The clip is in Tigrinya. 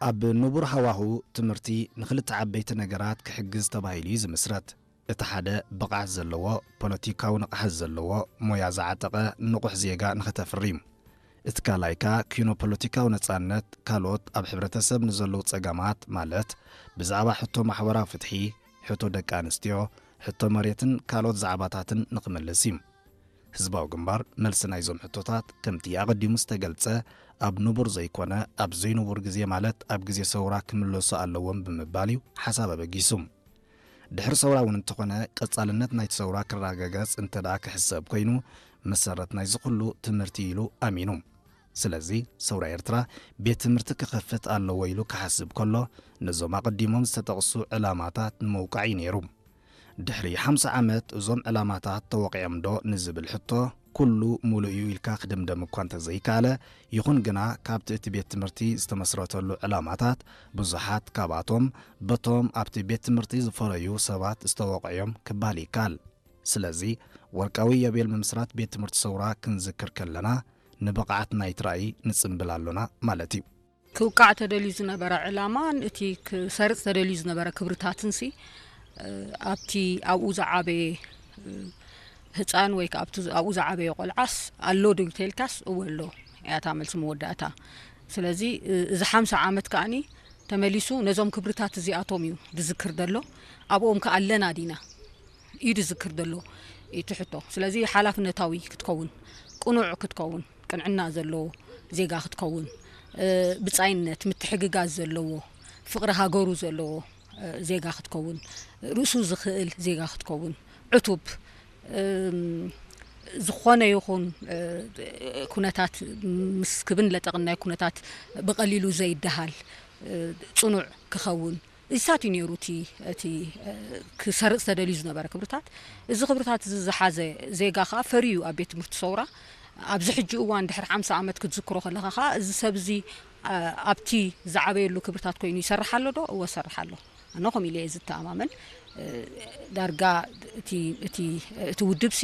ኣብ ንቡር ሃዋሁ ትምህርቲ ንኽልተ ዓበይቲ ነገራት ክሕግዝ ተባሂሉ እዩ ዝምስረት። እቲ ሓደ ብቕዓት ዘለዎ፣ ፖለቲካዊ ንቕሓት ዘለዎ፣ ሞያ ዝዓጠቐ ንቑሕ ዜጋ ንኸተፍሪ እዩ። እቲ ካልኣይ ከኣ ኪኖ ፖለቲካዊ ነጻነት፣ ካልኦት ኣብ ሕብረተሰብ ንዘለዉ ጸገማት፣ ማለት ብዛዕባ ሕቶ ማሕበራዊ ፍትሒ፣ ሕቶ ደቂ ኣንስትዮ፣ ሕቶ መሬትን ካልኦት ዛዕባታትን ንኽምልስ እዩ። ህዝባዊ ግንባር መልሲ ናይዞም ሕቶታት ከምቲ ኣቐዲሙ ዝተገልጸ ኣብ ንቡር ዘይኮነ ኣብ ዘይንቡር ግዜ፣ ማለት ኣብ ግዜ ሰውራ ክምለሱ ኣለዎም ብምባል እዩ ሓሳብ ኣበጊሱ። ድሕሪ ሰውራ እውን እንተኾነ ቀጻልነት ናይቲ ሰውራ ክረጋገጽ እንተ ደኣ ክሕሰብ ኮይኑ መሰረት ናይዚ ኩሉ ትምህርቲ ኢሉ ኣሚኑ። ስለዚ ሰውራ ኤርትራ ቤት ትምህርቲ ክኸፍት ኣለዎ ኢሉ ክሓስብ ከሎ ነዞም ኣቐዲሞም ዝተጠቕሱ ዕላማታት ንምውቃዕ እዩ ነይሩ። ድሕሪ ሓምሳ ዓመት እዞም ዕላማታት ተወቒዖም ዶ ንዝብል ሕቶ ኩሉ ሙሉእ እዩ ኢልካ ክድምደም እኳ እንተዘይከኣለ፣ ይኹን ግና ካብቲ እቲ ቤት ትምህርቲ ዝተመስረተሉ ዕላማታት ብዙሓት ካብኣቶም በቶም ኣብቲ ቤት ትምህርቲ ዝፈረዩ ሰባት ዝተወቕዑ እዮም ክበሃል ይከኣል። ስለዚ ወርቃዊ ዮቤል ምምስራት ቤት ትምህርቲ ሰውራ ክንዝክር ከለና ንብቕዓት ናይቲ ራእይ ንጽምብል ኣሎና ማለት እዩ። ክውቃዕ ተደልዩ ዝነበረ ዕላማን እቲ ክሰርጽ ተደልዩ ዝነበረ ክብርታትንሲ፣ እ፣ ኣብቲ ኣብኡ ዝዓበየ፣ እ፣ ህጻን ወይ ከኣ ኣብቲ ኣብኡ ዝዓበየ ቆልዓስ ኣሎ ዶ እንተኢልካስ፣ እወ ኣሎ እያ እታ መልሲ መወዳእታ። ስለዚ፣ እ፣ እዚ ሓምሳ ዓመት ከኣኒ ተመሊሱ ነዞም ክብርታት እዚኣቶም እዩ ዝዝክር ዘሎ። ኣብኦም ከኣ ኣለና ዲና እዩ ዝዝክር ዘሎ እቲ ሕቶ። ስለዚ ሓላፍነታዊ ክትከውን፣ ቅኑዕ ክትከውን፣ ቅንዕና ዘለዎ ዜጋ ክትከውን፣ እ፣ ብጻይነት፣ ምትሕግጋዝ ዘለዎ፣ ፍቕሪ ሃገሩ ዘለዎ፣ እ፣ ዜጋ ክትከውን፣ ርእሱ ዝኽእል ዜጋ ክትከውን፣ ዕቱብ፣ እም፣ ዝኾነ ይኹን፣ እ፣ ኩነታት ምስ ክብን ለጠቕን ናይ ኩነታት ብቐሊሉ ዘይደሃል፣ እ፣ ጽኑዕ ክኸውን፣ እዚታት እዩ ነይሩ እቲ፣ እቲ፣ እ፣ ክሰርጽ ተደልዩ ዝነበረ ክብርታት። እዚ ክብርታት እዚ ዝሓዘ ዜጋ ከኣ ፈርዩ ኣብ ቤት ትምህርቲ ሰውራ ኣብዚ ሕጂ እዋን ድሕሪ ሓምሳ ዓመት ክትዝክሮ ከለኻ ከኣ እዚ ሰብ እዚ፣ እ፣ ኣብቲ ዝዓበየሉ ክብርታት ኮይኑ ይሰርሕ ኣሎ ዶ? እወ፣ ይሰርሕ ኣሎ። ኣነ ከምኡ ኢለ እየ ዝተኣማመን። እ፣ ዳርጋ እቲ፣ እቲ፣ እቲ ውድብሲ